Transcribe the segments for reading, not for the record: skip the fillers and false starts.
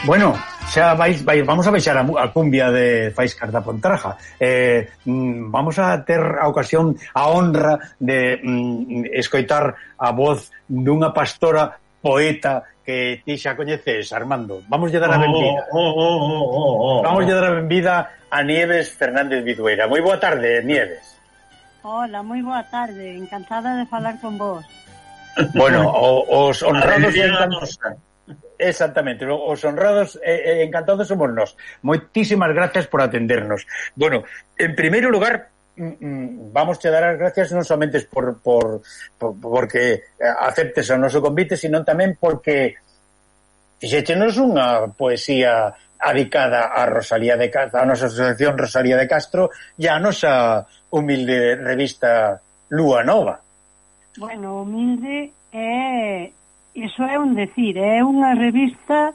Bueno, xa vamos a baixar a cumbia de Faíscas da Pontraja. Vamos a ter a ocasión, a honra de escoitar a voz dunha pastora poeta que ti xa coñeces, Armando. Vamos lle dar a benvida. Vamos lle dar a benvida a Nieves Fernández Vidueira. Moi boa tarde, Nieves. Hola, moi boa tarde. Encantada de falar con vos. Bueno, os honrados... Exactamente, os honrados encantados somos nós. Moitísimas gracias por atendernos. Bueno, en primeiro lugar, vamos a dar as gracias non somente porque aceptes o noso convite, sino tamén porque fixéchenos unha poesía adicada a Rosalía de Castro, a nosa asociación Rosalía de Castro e a nosa humilde revista Lúa Nova. Bueno, humilde iso é un decir, é unha revista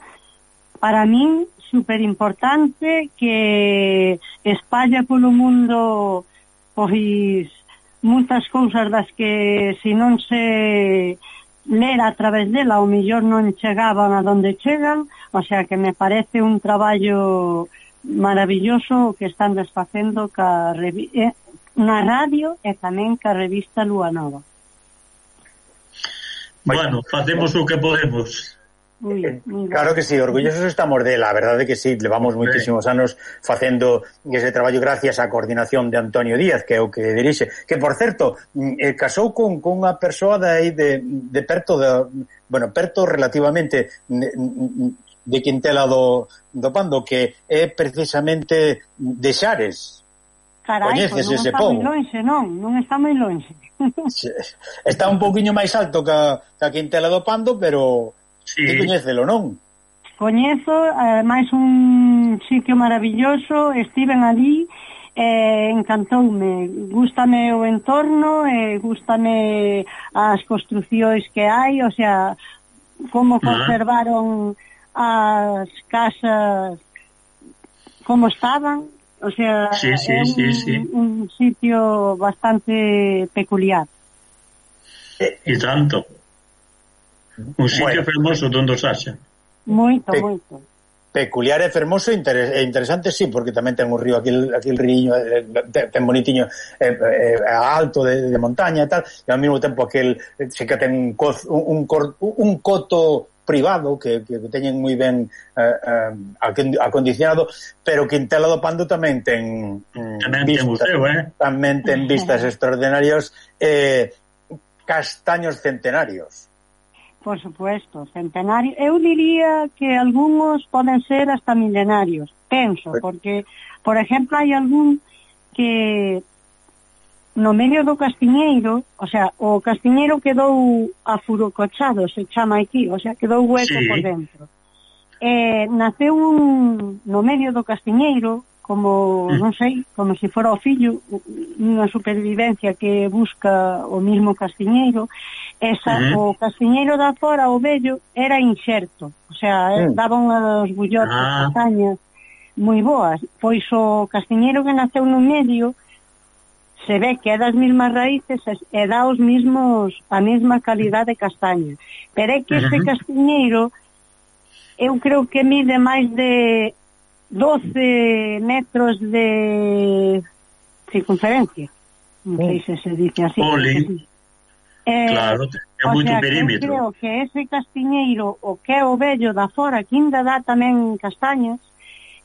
para min super importante que espalla polo mundo pois moitas cousas das que se non se lera a través dela o mellor non chegaban a donde chegan, o sea que me parece un traballo maravilloso que están desfacendo na radio e tamén ca revista Lúa Nova. Bueno, facemos o que podemos. Claro que sí, orgullosos estamos dela, a verdade que sí, levamos moitísimos anos facendo ese traballo gracias á coordinación de Antonio Díaz, que é o que dirixe, que por certo, casou con unha persoa de perto, perto relativamente de Quintela do Pando, que é precisamente de Xares. Carai, pois non está moi lonxe, non está moi lonxe. Está un pouquiño máis alto que a Quintela do Pando, pero sí. Ti coñécelo, non? Coñezo, máis un sitio maravilloso, estiven ali, encantoume, gústame o entorno, gústame as construcións que hai, o sea, como conservaron as casas como estaban. O sea, sí. Un sitio bastante peculiar. E tanto. Un sitio fermoso donde os haxa. Moito. Peculiar e fermoso e interesante, sí, porque tamén ten un río aquí el riño ten bonitiño alto de montaña e tal, e ao mesmo tempo aquel se que ten un coto privado que teñen moi ben acondicionado, pero Quintela do Pando tamén ten museo, tamén ten vistas extraordinarias, castaños centenarios. Por supuesto, centenario. Eu diría que algúns poden ser hasta milenarios, penso, porque, por exemplo, hai algún que no medio do castiñeiro, o sea, o castiñeiro quedou afurocochado, se chama aquí, o sea, quedou hueco por dentro. Naceu no medio do castiñeiro, como, non sei, como se fora o fillo, unha supervivencia que busca o mismo castiñeiro. O castiñeiro da fora, o vello, era inxerto, o sea, daban os bullotes, castañas moi boas, pois o castiñeiro que naceu no medio se ve que é das mismas raíces e dá a mesma calidad de castaña, pero é que este castiñeiro eu creo que mide máis de 12 metros de circunferencia, non sei se dice así. Claro, é moito perímetro. Eu creo que ese castiñeiro, o que é o vello da fora, que ainda dá tamén castañas,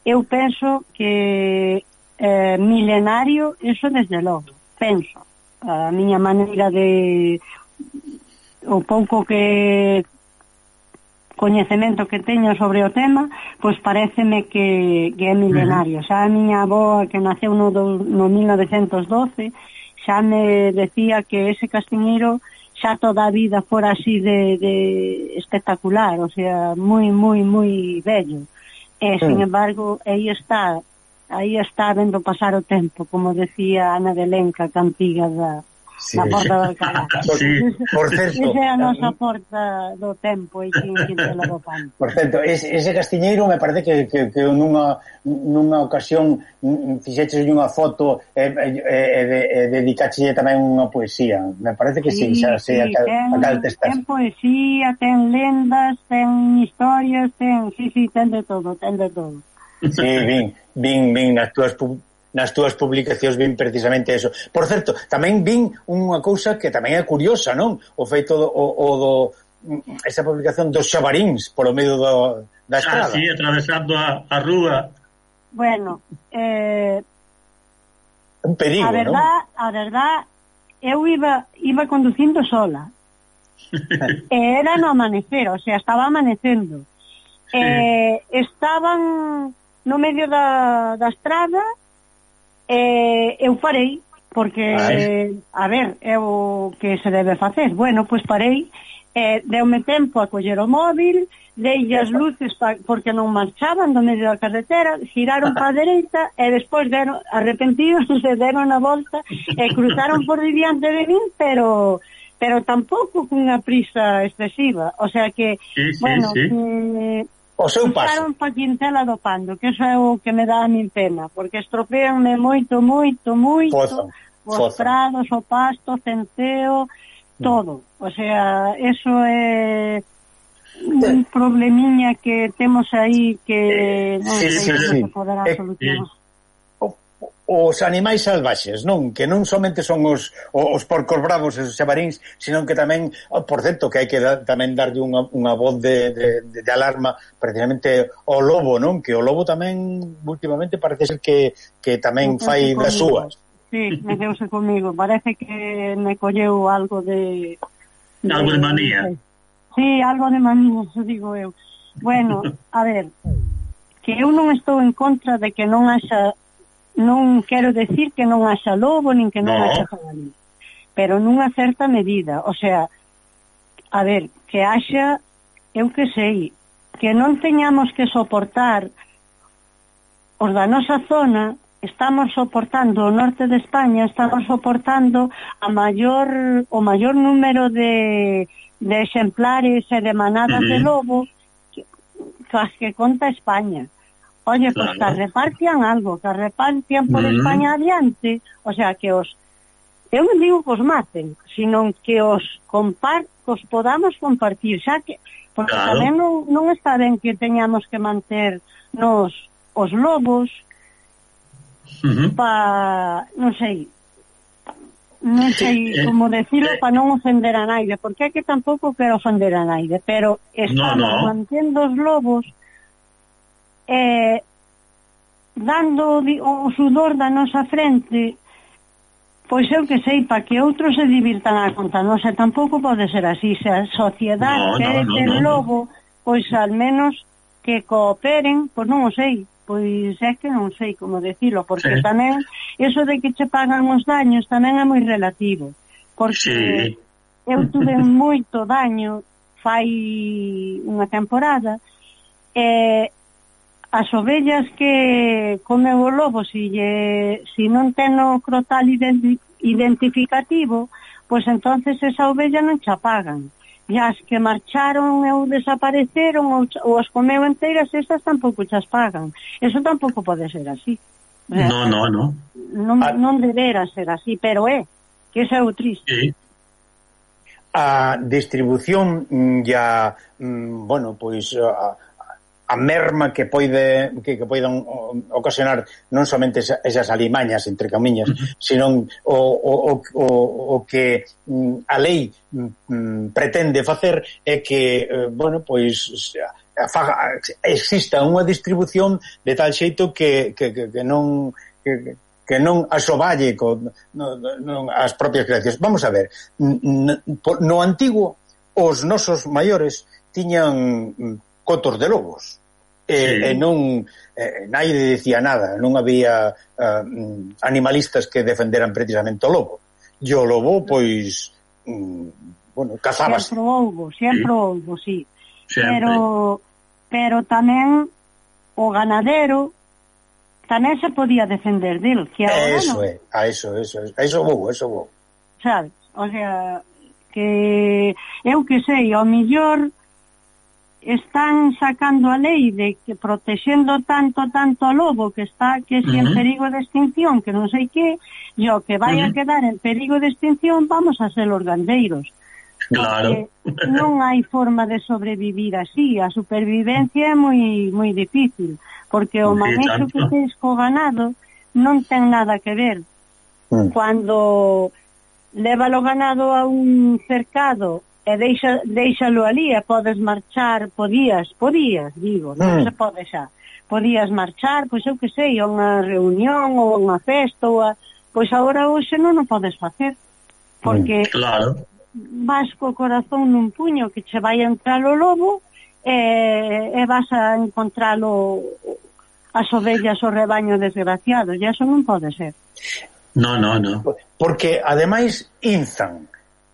eu penso que milenario, eso desde logo, penso. A miña maneira de o pouco que coñecemento que teño sobre o tema, pois paréceme que é milenario. Xa a miña avó, que naceu no 1912, xa me decía que ese castiñeiro xa toda a vida fora así de espectacular, o sea, moi, moi, moi bello. Sin embargo, aí está vendo pasar o tempo, como decía Ana de Lenca, cantiga da Porta do Alcalá. Por certo, esa é a nosa porta do tempo e Quintela do Pando. Por certo, ese castiñeiro me parece que nunha ocasión fixeches unha foto e dedicache tamén unha poesía. Me parece que sí, xa sei a cal te estás. Ten poesía, ten lendas, ten historias, ten de todo. Sí, vin nas túas publicacións vin precisamente eso. Por certo, tamén vin unha cousa que tamén é curiosa, non? O feito esa publicación dos xabaríns polo medio da estrada. Sí, atravesando a rúa. Bueno, un perigo, non? A verdad, eu iba conducindo sola. Era no amanecer, o sea, estaba amanecendo. Estaban no medio da estrada, eu parei, porque, a ver, é o que se debe facer. Bueno, pois parei, deume tempo a coller o móvil, deille as luces porque non marchaban do medio da carretera, giraron para a dereita e despois arrepentidos se deron a volta e cruzaron por diante de min, pero tampouco cunha prisa excesiva, o sea que, o seu paso. Pasaron pa Quintela do Pando, que eso é o que me dá a min pena, porque estropeanme moito os prados, o pasto, o centeo, todo. O sea, eso é un problemiña que temos aí que non sei se poderá solucionar. Os animais salvaxes, non? Que non somente son os porcos bravos e os xabaríns, sino que tamén, por certo, que hai que tamén darlle unha voz de alarma precisamente ao lobo, non? Que o lobo tamén últimamente parece ser que tamén fai das súas. Sí, meteuse comigo. Parece que me colleu algo de algo de manía. Sí, algo de manía, digo eu. Bueno, a ver, que eu non estou en contra de que non haxa. Non quero decir que non haxa lobo nin que non haxa jabalí, pero nunha certa medida, o sea, a ver, que haxa, eu que sei, que non teñamos que soportar os da nosa zona, estamos soportando o norte de España, estamos soportando o maior número de exemplares e de manadas de lobo que conta España. Oye, pues que repartian algo, que repartian por España adiante, o sea, que eu non digo que os maten, sino que os podamos compartir, xa que, porque tamén non está ben que teñamos que manter os lobos non sei, non sei como decirlo para non ofender a naide, porque é que tampouco quero ofender a naide, pero estamos mantendo os lobos dando o sudor da nosa frente, pois eu que sei, para que outros se divirtan a conta nosa. Tampouco pode ser así. Se a sociedade quere ter lobo, pois al menos que cooperen, pois non o sei. Pois é que non sei como decirlo, porque tamén eso de que che pagan os daños tamén é moi relativo, porque eu tuve moito daño fai unha temporada, as ovellas que comeu o lobo, si non ten o crotal identificativo, pois entonces esa ovella non cha pagan. E as que marcharon ou desapareceron ou as comeu enteiras, esas tampouco chas pagan. Eso tampouco pode ser así. Non debera ser así, pero que eso é o triste. A distribución bueno, pois a merma que poidan ocasionar non somente esas alimañas, entre camiñas, senón o que a lei pretende facer é que, bueno, pois exista unha distribución de tal xeito que non asoballe as propias creacións. Vamos a ver, no antigo os nosos maiores tiñan cotos de lobos, e non naide decía nada, non había animalistas que defenderan precisamente o lobo. E o lobo, pois, bueno, cazábase. Sempre houbo, sí. Pero tamén o ganadero tamén se podía defender del, que agora non. Eso vou. Sabes? O sea, que eu que sei, ao mellor están sacando a lei de que protexendo tanto o lobo que está que si en perigo de extinción, que non sei que, e o que vai a quedar en perigo de extinción vamos a ser os gandeiros. Claro. Non hai forma de sobrevivir así, a supervivencia é moi difícil, porque o manexo que tens co ganado non ten nada que ver. Cuando leva o ganado a un cercado e deixalo ali e podes marchar, podías, digo, non se pode xa. Podías marchar, pois eu que sei, a unha reunión ou unha festa, pois agora hoxe non o podes facer, porque vas co corazón nun puño que che vai a entrar o lobo e vas a encontralo as ovellas o rebaño desgraciado, e eso non pode ser. No. Porque ademais inzan,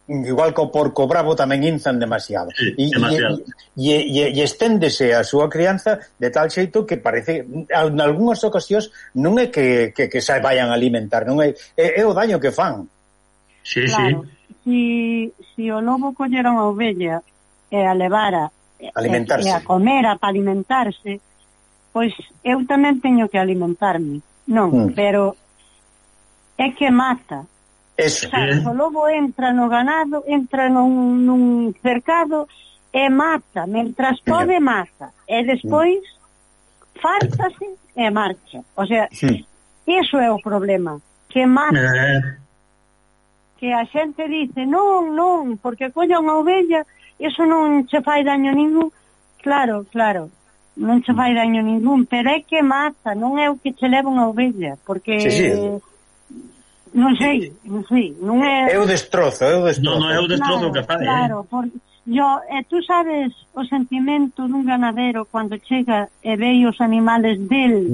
igual que o porco bravo tamén inzan demasiado. E esténdese a súa crianza de tal xeito que parece, en algunhas ocasións non é que se vayan a alimentar, non é o daño que fan. Claro, si o lobo collera unha ovella e a levara e a comera para alimentarse, pois eu tamén teño que alimentarme, non, pero é que mata. Eso. O lobo entra no ganado, entra nun cercado e mata, mentras pode mata, e despois fártase e marcha. O sea, iso é o problema, que mata. Que a xente dice, non, porque colla unha ovella, iso non che fai daño ningún. Claro, non che fai daño ningún, pero é que mata, non é o que che leva unha ovella, porque... Non sei, non é... É o destrozo. Non é o destrozo que fai. Claro, tú sabes o sentimento dun ganadero cando chega e ve os animales del...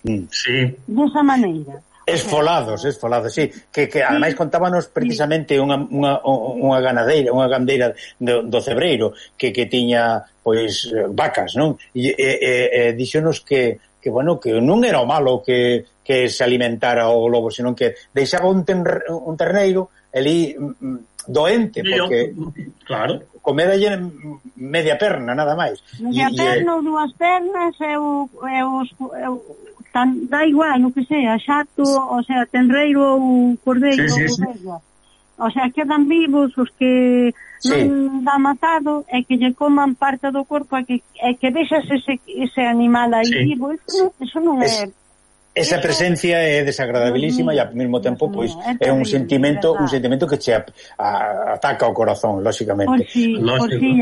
Desa maneira. Esfolados, sí. Que ademais contábanos precisamente unha gandeira do Cebreiro que tiña, pois, vacas, non? E dixonos que bueno, que non era o malo que se alimentara o lobo, senón que deixaba un terneiro ali doente, porque comera media perna, nada máis. Media perna ou dúas pernas da igual, o que sea, xato, o sea, tenreiro ou cordeiro, o sea, quedan vivos os que non dá matado e que lle coman parte do corpo e que deixas ese animal aí vivo, eso non é esa presencia é desagradabilísima e ao mesmo tempo pois é un sentimento que che ataca o corazón, lógicamente. Por si,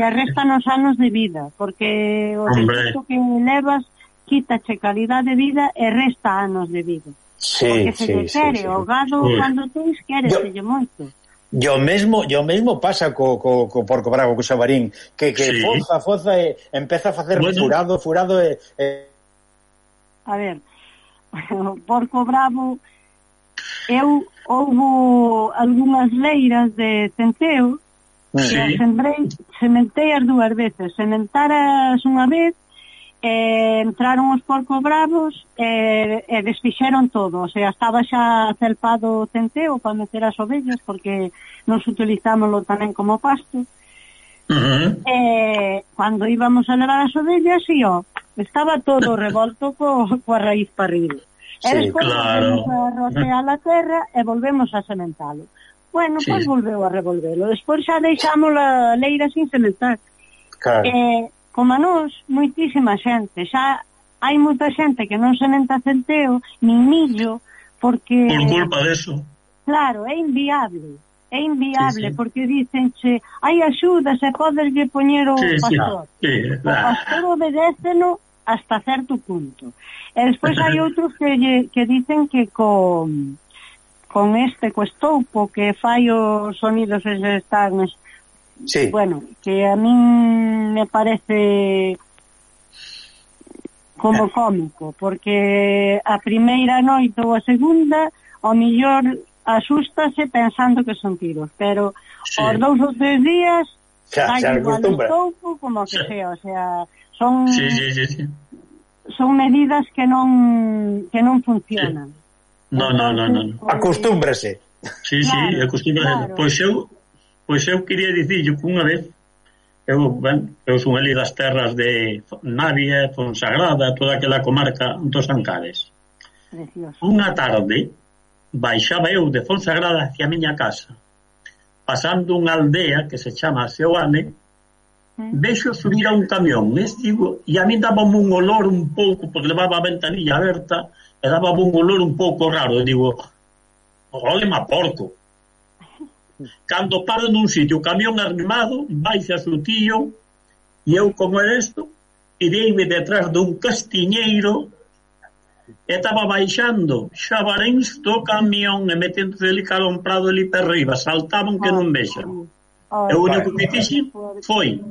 restan os anos de vida, porque o defecto que levas quítache calidad de vida e resta anos de vida. Porque se te quere, o gado cando tens quereselle moito. Yo mesmo pasa co porco bravo, co xabarín, que foza e empeza a facer furado e... A ver, o porco bravo, houbo algunhas leiras de centeo que sementei as dúas veces. Sementaras unha vez, entraron os porcos bravos e desfixeron todo, o sea, estaba xa celpado o centeo para meter as ovellas porque nos utilizámoslo tamén como pasto. Cando íbamos a levar as ovellas estaba todo revolto coa raíz para arriba. E despois volvemos a rocear a terra e volvemos a sementalo. Bueno, pois volveu a revolvelo. Despois xa deixamos a leira sin sementar. Como a nós, moitísima xente. Xa hai moita xente que non sementa centeo, nin millo, porque... Por culpa deso. Claro, é inviable. É inviable, porque dicenche hai axudas e poderlle poñer o pastor. O pastor obedéceno hasta certo punto. E despois hai outros que dicen que con co estoupo que fai os sonidos eses tan... Bueno, que a min me parece como cómico, porque a primeira noite ou a segunda ao mellor asústase pensando que son tiros, pero os 2 ou 3 días hai igual o estoupo como que sea, o sea, son medidas que non funcionan. No. Acostúmbrase. Acostúmbrase. Pois eu quería dicirlle que unha vez eu son ali das terras de Navia, Fonsagrada, toda aquela comarca dos Ancares. Unha tarde baixaba eu de Fonsagrada hacia a miña casa, pasando unha aldea que se chama Seoane, vexo subir a un camión e a mí daba un olor un pouco, porque levaba a ventanilla aberta e daba un olor un pouco raro, e digo, olema porco. Cando paro nun sitio, o camión armado, baixa o tío, e eu, como é isto, ireime detrás dun castiñeiro e estaba baixando xabaréns do camión e metendo ali cara un prado ali per riba, saltaban que non vexan. E o único que fixen foi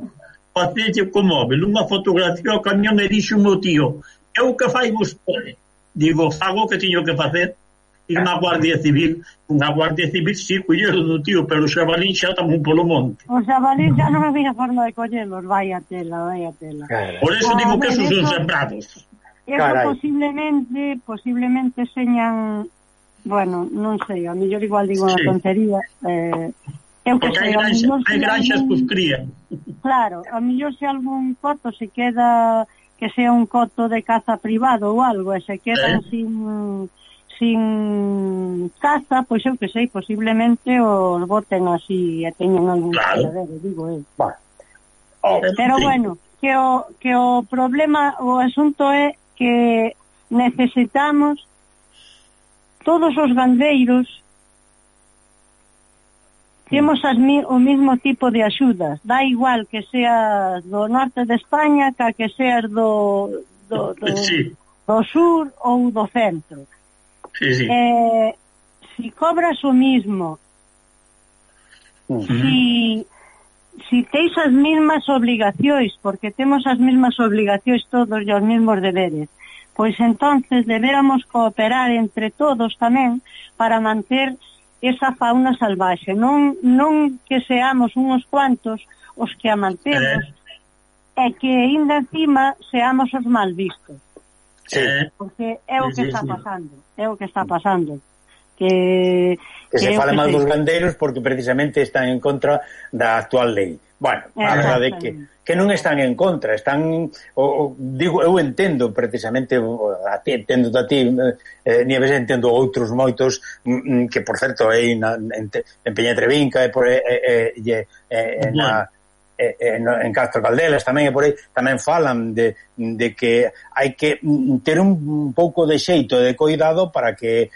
facerlle co móvil unha fotografía ao camión e dixo o meu tío, eu que fai vostede? Digo, fago o que tiño que facer. Unha Guardia Civil, sí, collero do tío, pero o xabalín xa tamén polo monte. O xabalín xa non había forma de collerlos, vai a tela. Por eso digo que esos son sembrados. Eso posiblemente señan, bueno, non sei, a mellor igual digo unha tontería. Porque hai granxas que os crían. Claro, a mellor se algún coto se queda, que sea un coto de caza privado ou algo, e se quedan sin caza, pois eu que sei, posiblemente os boten así e teñan algún caladero, digo eu. Pero bueno, que o problema, o asunto é que necesitamos todos os gandeiros temos o mismo tipo de axudas, da igual que seas do norte de España que seas do sur ou do centro. Si cobras o mismo, si teis as mesmas obligacións, porque temos as mesmas obligacións todos e os mesmos deberes, pois entonces deberamos cooperar entre todos tamén para manter esa fauna salvaxe, non que seamos uns cuantos os que a mantemos e que ainda encima seamos os mal vistos. Porque é o que está pasando, que se fala mal dos gandeiros porque precisamente están en contra da actual lei. Bueno, a verdade é que non están en contra, están, digo, eu entendo precisamente, entendo a ti, Nieves, entendo outros moitos, que por certo en Peña Trevinca e en Castro Caldelas tamén e por aí tamén falan de que hai que ter un pouco de xeito de cuidado para que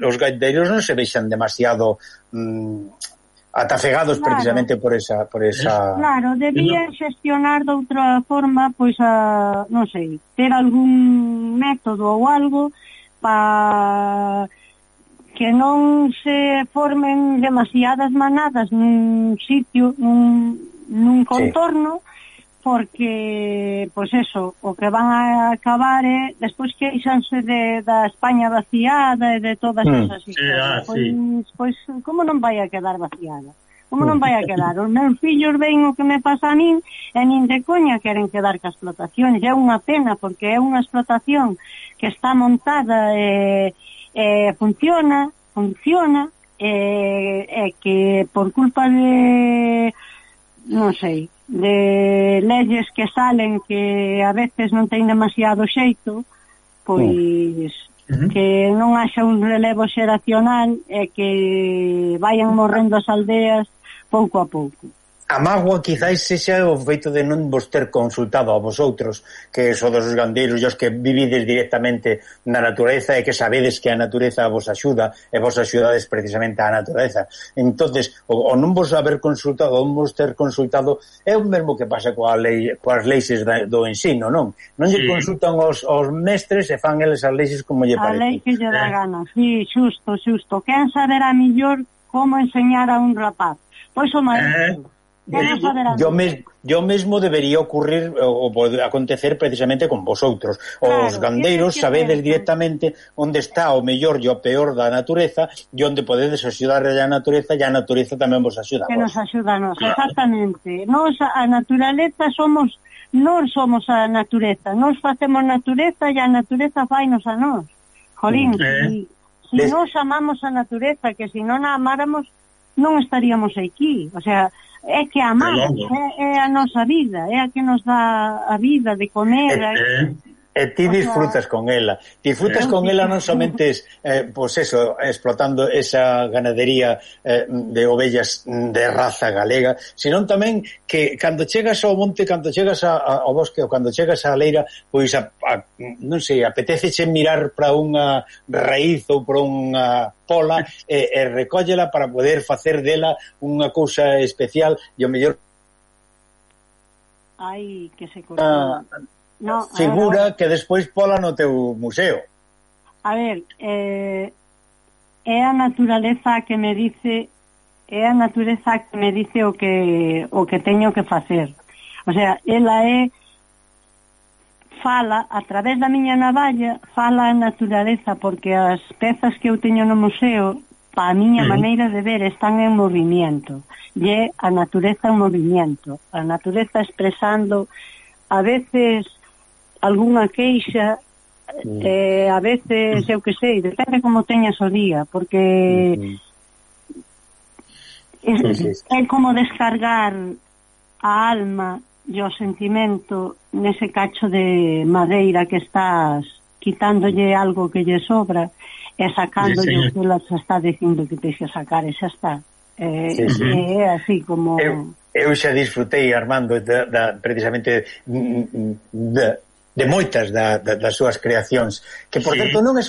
os gandeiros non se vexan demasiado atafegados, claro, precisamente por esa... Claro, debían xestionar de outra forma, pois, non sei, ter algún método ou algo para que non se formen demasiadas manadas nun sitio, nun contorno, porque, pois eso, o que van a acabar é, despois queixanse da España vaciada e de todas esas historias. Pois, como non vai a quedar vaciada? Como non vai a quedar? Os meus fillos ven o que me pasa a min e nin de coña queren quedar ca explotación. E é unha pena, porque é unha explotación que está montada e funciona, e que por culpa de, non sei, de leyes que salen que a veces non ten demasiado xeito, pois que non haxa un relevo xeracional e que vayan morrendo as aldeas pouco a pouco. A mágoa quizáis sexa o feito de non vos ter consultado a vosotros, que sodes os gandeiros e os que vivides directamente na natureza e que sabedes que a natureza vos axuda e vos axudades precisamente á natureza. Entonces, o non vos haber consultado, o non vos ter consultado é o mesmo que pasa coas leis do ensino, non? Non lle consultan os mestres e fan eles as leis como lle parece. A lei que lle dá gana, sí, xusto. Quen saberá mellor como enseñar a un rapaz? Pois o maestro. Yo mesmo debería ocurrir ou acontecer precisamente con vosotros. Os gandeiros sabedes directamente onde está o mellor e o peor da natureza e onde podedes axudar a natureza e a natureza tamén vos axuda. Que nos axuda a nos, exactamente. Nos, a naturaleza non somos a natureza, nos facemos natureza e a natureza fainos a nos. Jolín, si nos amamos a natureza, que se non a amáramos non estaríamos aquí, o sea, é que amamos, é a nosa vida, é a que nos dá a vida de comer. E ti disfrutas con ela. Disfrutas con ela non somente pois eso, explotando esa ganadería de ovellas de raza galega, senón tamén que cando chegas ao monte, cando chegas ao bosque ou cando chegas á leira, pois non sei, apetéceche mirar para unha raíz ou para unha pola e recóllela para poder facer dela unha cousa especial e o mellor que se cortou. Figura que despois pola no teu museo. A ver, é a naturaleza que me dice o que teño que facer. O sea, ela fala a través da miña navalla, fala a naturaleza, porque as pezas que eu teño no museo, pa a miña maneira de ver, están en movimiento. E a natureza en movimiento, a natureza expresando a veces algunha queixa, a veces, eu que sei, depende como teñas o día, porque é como descargar a alma e o sentimento nese cacho de madeira que estás quitándolle algo que lle sobra e sacándolle o que ela está dicindo que texe sacar, e xa está. É así como... Eu xa disfrutei, Armando, precisamente de moitas das súas creacións, que por certo non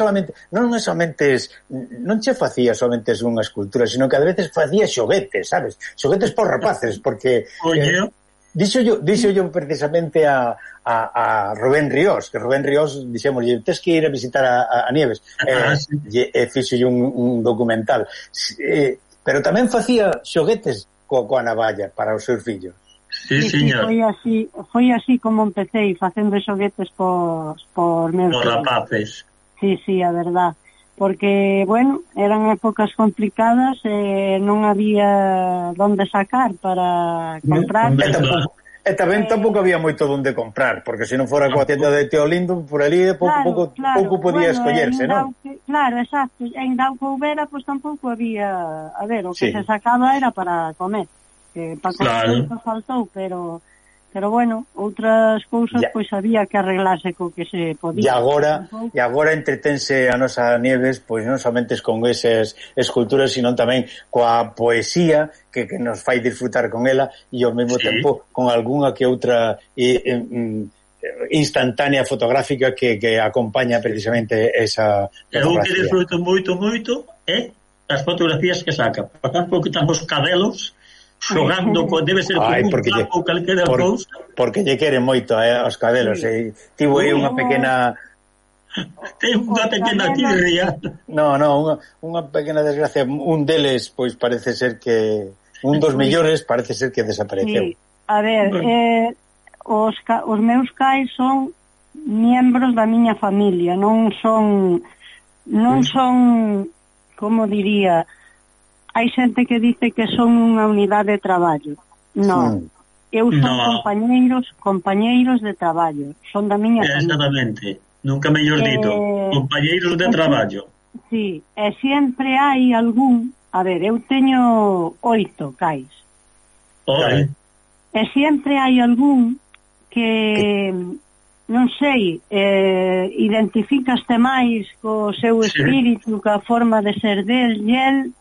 che facía somente unha escultura, sino que a veces facía xoguetes, sabes? Xoguetes por rapaces, porque dixo yo precisamente a Rubén Ríos, que Rubén Ríos dixemos, tes que ir a visitar a Nieves, e fixo un documental, pero tamén facía xoguetes coa navalla para os seus fillos. Sí, señor. Foi así como empecé, facendo xoguetes por meus fillos. Por rapaces. Sí, a verdad. Porque, bueno, eran épocas complicadas e non había donde sacar para comprar. E tamén tampouco había moito donde comprar, porque se non fora coa tienda de Teo Lindo, por ali pouco podía escollerse, non? Claro, exacto. En Dauco Ubera, pois tampouco había... A ver, o que se sacaba era para comer. Para comer faltou, pero pero bueno, outras cousas pois había que arreglarse co que se podía. E agora entretense a nosa Nieves pois non somente con esas esculturas, sino tamén coa poesía que nos fai disfrutar con ela e ao mesmo tempo con algunha que outra instantánea fotográfica que acompaña precisamente esa fotografía. Eu que disfruto moito as fotografías que saca. Por exemplo, que están os cabelos xogando, debe ser como un campo calquera cousa. Porque lle queren moito aos cabelos. Tivo aí unha pequena... Ten unha pequena tirria. Unha pequena desgracia. Un deles, pois parece ser que... Un dos mellores parece ser que desapareceu. A ver, os meus cais son miembros da miña familia, non son, como diría, hai xente que dice que son unha unidade de traballo. Non, eu son compañeiros de traballo, son da miña familia. Exactamente, nunca mellor dito, compañeiros de traballo. Sí, e sempre hai algún, a ver, eu teño 8 cais. E sempre hai algún que, non sei, identificaste máis co seu espírito, ca forma de ser del, e el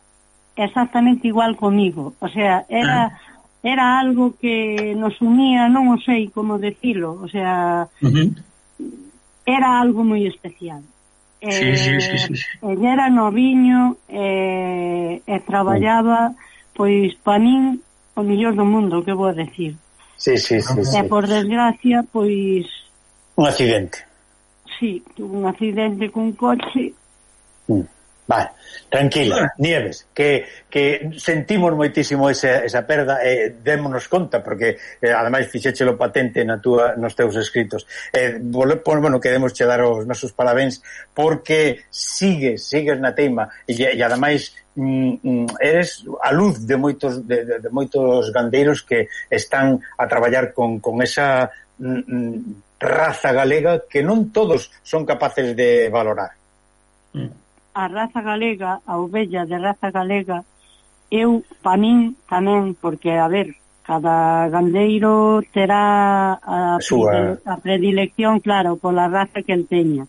exactamente igual comigo. O sea, era algo que nos unía, non o sei como decilo, o sea, era algo moi especial. Sí. El era noviño e traballaba, pois, pa min, o mellor do mundo, que vou decir. Sí. E por desgracia, pois... Un accidente. Sí, tuvo un accidente cun coche. Vale, tranquila, Nieves, que sentimos moitísimo esa perda e démonos conta, porque ademais fixéchelo patente nos teus escritos. Bueno, queremos che dar os nosos parabéns porque sigues na teima e ademais eres a luz de moitos gandeiros que están a traballar con esa raza galega que non todos son capaces de valorar. A raza galega, a ovella de raza galega, pa min tamén, porque, a ver, cada gandeiro terá a predilección, claro, pola raza que el teña.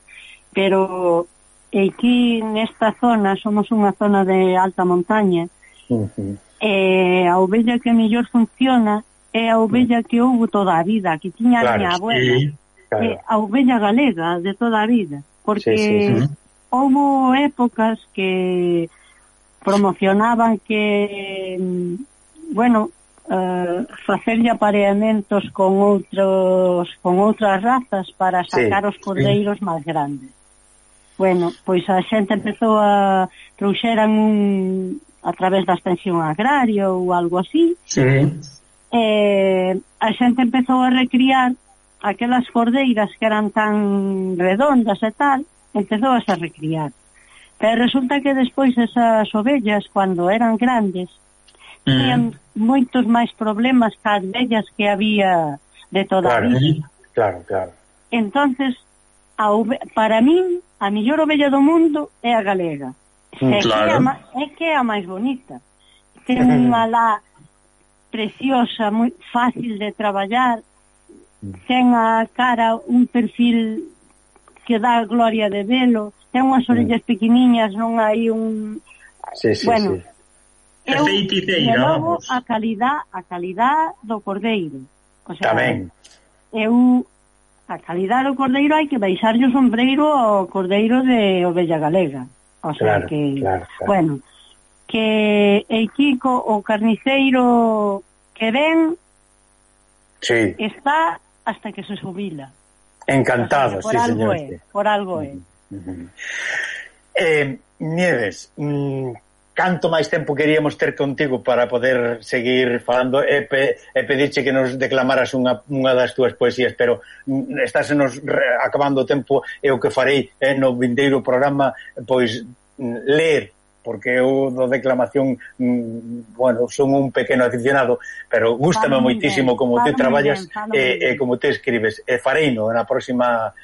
Pero aquí, nesta zona, somos unha zona de alta montaña, e a ovella que mellor funciona é a ovella que houve toda a vida, que tiña a miña abuela. A ovella galega de toda a vida. Porque... houve épocas que promocionaban que, bueno, facerlle apareamentos con outras razas para sacar os cordeiros máis grandes. Bueno, pois a xente empezou trouxeran a través da extensión agraria ou algo así. A xente empezou a recriar aquelas cordeiras que eran tan redondas e tal, empezou a se recriar. Pero resulta que despois esas ovellas, cando eran grandes, tenían moitos máis problemas que as vellas que había de toda a vida. Claro. Entonces, para min, a mellor ovella do mundo é a galega. É que é a máis bonita. Ten unha lá preciosa, moi fácil de traballar, ten a cara, un perfil que dá gloria de velo, ten unhas orellas pequeniñas, non hai un... Bueno, de novo, a calidad do cordeiro. O sea, tamén. A calidad do cordeiro hai que baixarlle o sombreiro ao cordeiro de ovella galega. O sea, claro. Bueno, que el Kiko, o carniceiro que ven, está hasta que se jubila. Encantado, o sea, señor. Por algo é. Nieves, canto máis tempo queríamos ter contigo para poder seguir falando e pedirche que nos declamaras unha das túas poesías, pero estásenos acabando o tempo e o que farei no vindeiro programa, pois ler, porque eu do declamación, bueno, son un pequeno aficionado, pero gústame moitísimo como te traballas e como te escribes. E fareino na próxima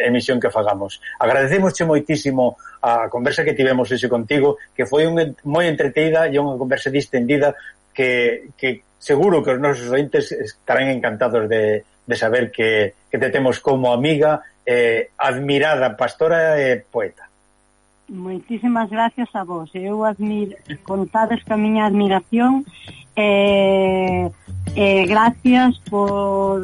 emisión que fagamos. Agradecemosche moitísimo a conversa que tivemos hoxe contigo, que foi moi entreteída e unha conversa distendida que seguro que os nosos ointes estarán encantados de saber que te temos como amiga, admirada pastora e poeta. Moitísimas gracias a vos. Eu contades que a miña admiración gracias por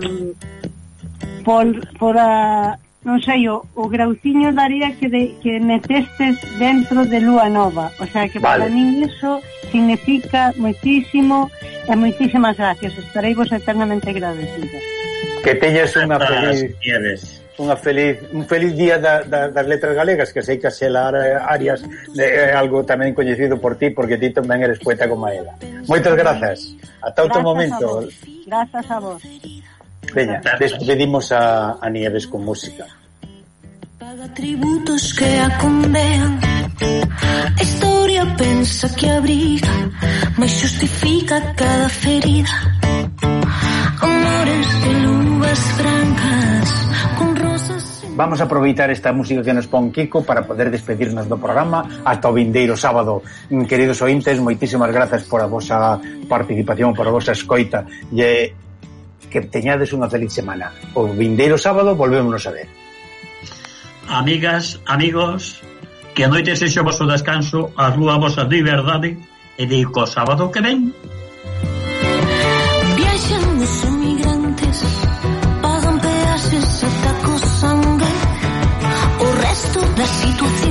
non sei, o grauciño daría que metestes dentro de Lúa Nova, o sea que para min iso significa moitísimo e moitísimas gracias, estarei vos eternamente agradecida. Que teñas un feliz día das letras galegas, que sei que a Xela Arias é algo tamén coñecido por ti, porque ti tamén eres poeta como ela. Moitas grazas, ata outro momento. Grazas a vos. Veña, despedimos a Nieves con música. Paga tributos que a condean, a historia pensa que abriga, mas xustifica cada ferida. Amores de luvas francas con rosas. Vamos a aproveitar esta música que nos pon Kiko para poder despedirnos do programa ata o vindeiro sábado. Queridos ointes, moitísimas grazas por a vosa participación, por a vosa escoita, e que teñades unha feliz semana. O vindeiro sábado volvémonos a ver. Amigas, amigos, que a noite sexa o vosso descanso, a rúa vosa liberdade, e digo sábado que ven. Viaxan os emigrantes, pagan peaxes ata co sangue, o resto da situación